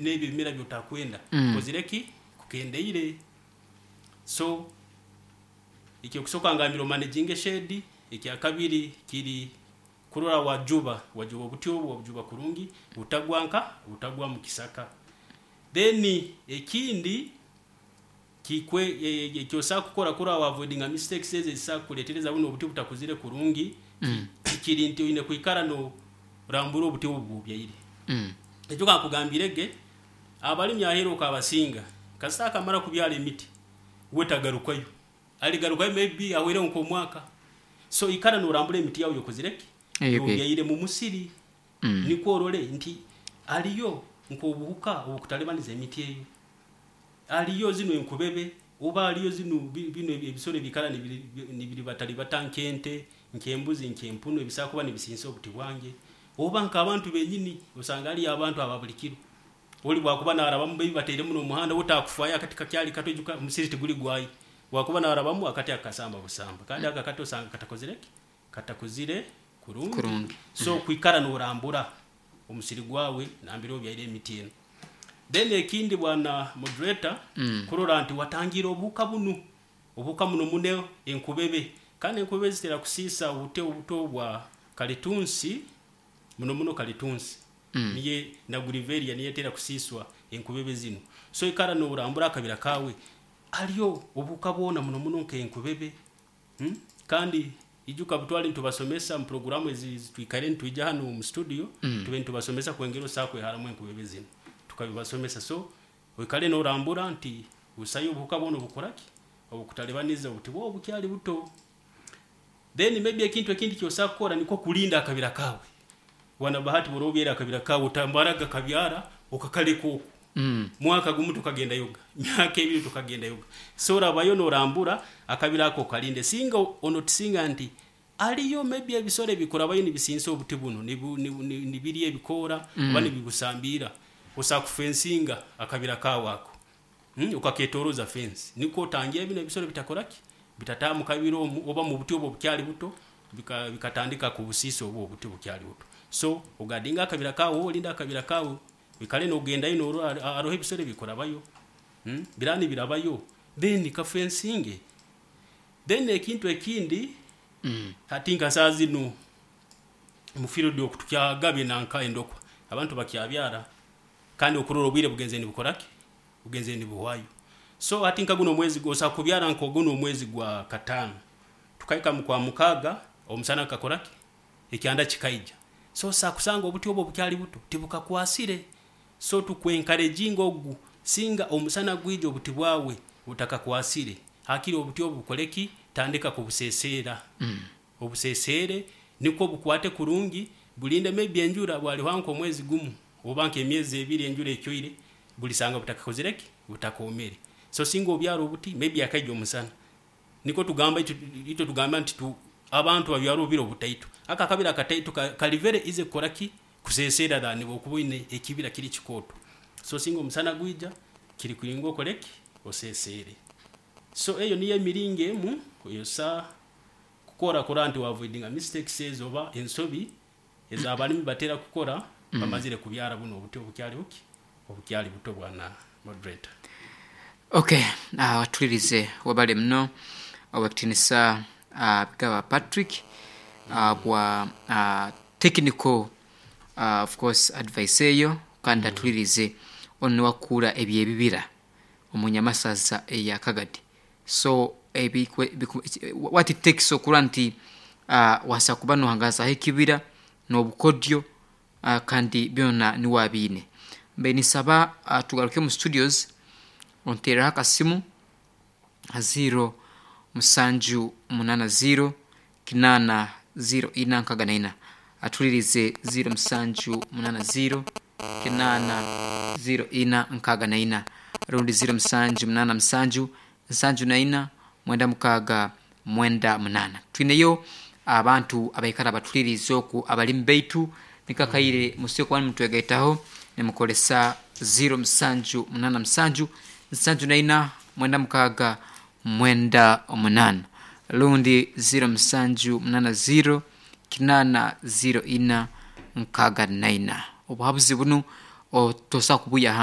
N'ebyo ebimera byotakwenda kozire ki kukendeire. So ekyokusooka ngambire omanaginge shade. Ekyakabiri kiri kurora wajuba wajuba obuti obu, wabujuba kurungi, butagwa nka butagwa mu kisaka. Then ekindi kikwe ekyosobola kukora kurora wa avoidinga mistakes ezo ezisobola kukuleetereza bunu obuti butakuzire kurungi, kiri nti oine kwikara norambura obuti obu bwobyaire. Ekyo kankugambire ge, abalimi aheeru okabasinga, kasita akamara kubyara emiti, we tagarukayo, aligarukayo maybe ahweireho nk'omwaka. So ikara norambura emiti yawe yokozire ki yobyaire mu musiri, nikwo orole nti aliyo nk'obuhuka obukutalibaniza emiti eyo, aliyo zinu enkubebe, oba aliyo zinu binu ebisoro ebiikara nibiribataribata nk'ente, nk'embuzi, nk'empunu, ebisobola kuba nibisiisa obuti bwange, oba nk'abantu benyini, osanga haliyo abantu aba buli kiro, oli bwakuba narabamu maybe batairemu n'omuhanda, we takufaayo akati kakyali kato, ijuka omusiri tiguli gwaye, bwakuba narabamu akati akasamba busamba, kandi ako akati osanga katakozire ki katakuzire kurungi. Kurungi. So kwikara norambura omusiri gwawe nambere obyaire emiti enu. Then ekindi, bwana moderator, kurora nti watangiire obuhuka bunu, obuhuka muno muno enkubebe, kandi enkubebe zitera kusiisa obuti obuto bwa kalitunsi, muno muno kalitunsi niye na grevillea niyo etera kusiiswa enkubebe zinu. So ikara norambura akabira kawe, aliyo obuhuka bwona, muno muno nk'enkubebe, Kandi ijuka butwali nitubasomesa mu puroguramu ezi twikaire nitwija hanu mu studio, tube nitubasomesa kwengera osobola kweharamu enkubebe zinu, tukabibasomesa. So oikale norambura nti busayo obuhuka bwona obukora ki obukutalibaniza obuti bwawe obukyali buto. Then maybe ekintu ekindi kyosobola kukora nikwo kulinda akabira kawe. Bwana Bahati, bworoba obyaire akabira kawe, otamaraga kabyara okakaleka oku, mwaka gumu tukagendayoga, myaka 2 tukagendayoga. So orabayo norambura akabira ako okalinde, singa onotisinga nti aliyo maybe ebisoro ebikurabayo nibisinsa obuti bunu, nibirya ebikoora oba nibibusambiira, osobola kufensinga akabira kawe ako, okaketoroza fence, nikwo otangira binu ebisoro bitakora ki bitataaha mu kabira omu oba mu buti obu obukyali buto, bikatandika kubusiisa obu obuti obukyali buto. So oguardinge akabira kawe, olinde akabira kawe, oikale nogendayo norora haroho ebisoro ebikurabayo, biraba nibirabayo, then kafensinge. Then ekintu ekindi, hati nka saaha zinu mu field oku tukyagaba nanka endokwa, abantu bakyabyara, kandi okurora obwire bugenzere nibukora ki bugenzere nibuhwayo. So hati nka guno omwezi, osobola kubyara nka guno omwezi gwa kataano, tukahika mu kwa mukaaga omusana gukakora ki ekyanda kikaija. So osobola kusanga obuti obu obukyali buto tibukakwasire. So tukwencouraginga ogu, singa omusana gwija obuti bwawe butakakwasire, hakiri obuti obu bukole ki tandika kubuseseera, obuseseere nikwo bukwate kurungi, bulinde maybe enjura bwalihwaho nk'omwezi gumu oba nk'emyezi 2 enjura ecwaire, bulisanga butakakozire ki butakoomere. So singa obyara obuti maybe akaija omusana, nikwo tugamba itwe tugamba nti abantu babyara obubira obutaito, ako akabira akataito kali very easy kukora ki kuseseera than bwokuba oine ekibira kiri kikooto. So singa omusana gwija, kiri kuringa okole ki oseseere. So eyo niyo emiringo emu eyosobola kukora kurora nti wa avoidinga mistakes ezo oba ensobi ez'abalimi batera kukora bamazire kubyara bunu obuti obukyali buki obukyali buto, bwana moderator. Okay, tulirize, webale muno owekitinisa Bigaba Patrick bwa technical of course advice eyo, kandi atulirize onu niwe akukuura ebyebibira omu nyamasaza eya Kagadi. So what it takes okurora nti wasobola kuba nohangazaho ekibira n'obukodyo, kandi byona niwe abiine. Mbaire ninsaba tugaruke omu studios, onteereho akasimu ha 0780 80 04 64, atulirize 0780 80 04 64 rundi 0787 74 96 98. Twineyo abantu abaikara batulirize oku, abalimi baitu, nikakaire musobola kuba nimutwegaitaho nimukozesa 0787 74 96 98 rundi 0780 80 04 64. Obuhabuzi bunu tosobola kubuya.